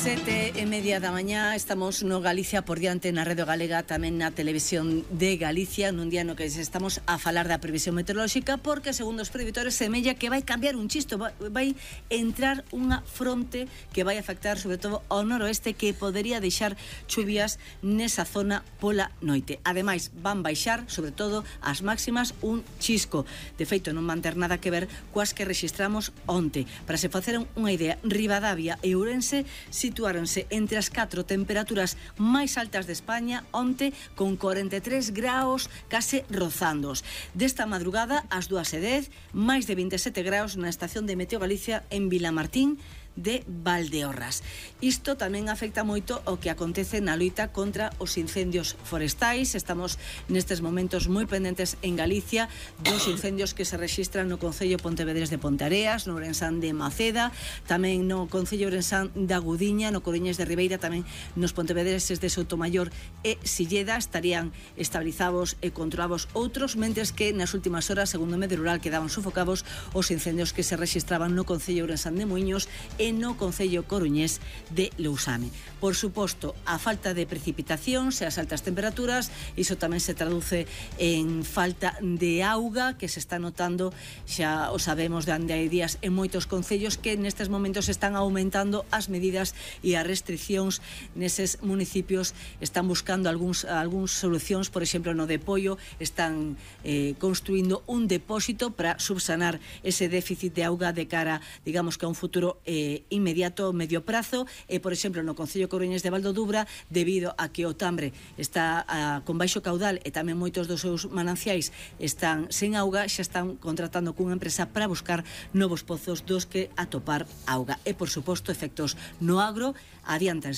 7:30 da mañá, estamos no Galicia por diante na Radio Galega, tamén na Televisión de Galicia, nun día no que estamos a falar da previsión meteorolóxica, porque segundo os previsores semella que vai cambiar un chisto, vai entrar unha fronte que vai afectar sobre todo ao noroeste, que podería deixar chuvias nesa zona pola noite. Ademais, van baixar sobre todo as máximas un chisco. De feito, non van ter nada que ver coas que rexistramos onte. Para se facer unha idea, Ribadavia e Ourense situáronse entre as 4 temperaturas máis altas de España onte, con 43 graus case rozándoos. Desta madrugada, ás 2:10, máis de 27 graus na estación de Meteo Galicia en Vilamartín de Valdeorras. Isto tamén afecta moito o que acontece na loita contra os incendios forestais. Estamos nestes momentos moi pendentes en Galicia dos incendios que se rexistran no Concello Pontevedrés de Ponteareas, no Ourensán de Maceda, tamén no Concello Ourensán da Gudiña, no Coruñés de Ribeira, tamén nos Pontevedreses de Soutomaior e Silleda. Estarían estabilizados e controlados outros, mentres que nas últimas horas, segundo o Medio Rural, quedaban sufocados os incendios que se rexistraban no Concello Ourensán de Muiños e no Concello Coruñés de Lousame. Por suposto, a falta de precipitacións e as altas temperaturas, iso tamén se traduce en falta de auga, que se está notando, xa o sabemos de hai días, en moitos concellos que nestes momentos están aumentando as medidas e as restriccións neses municipios. Están buscando algúns solucións, por exemplo, no de Poio están construindo un depósito para subsanar ese déficit de auga de cara, digamos que a un futuro inmediato, medio prazo, e por exemplo no Concello Coruñés de Valdodubra, debido a que o Tambre está con baixo caudal e tamén moitos dos seus mananciais están sen auga, xa están contratando cunha empresa para buscar novos pozos dos que atopar auga. E por suposto, efectos no agro adiantanse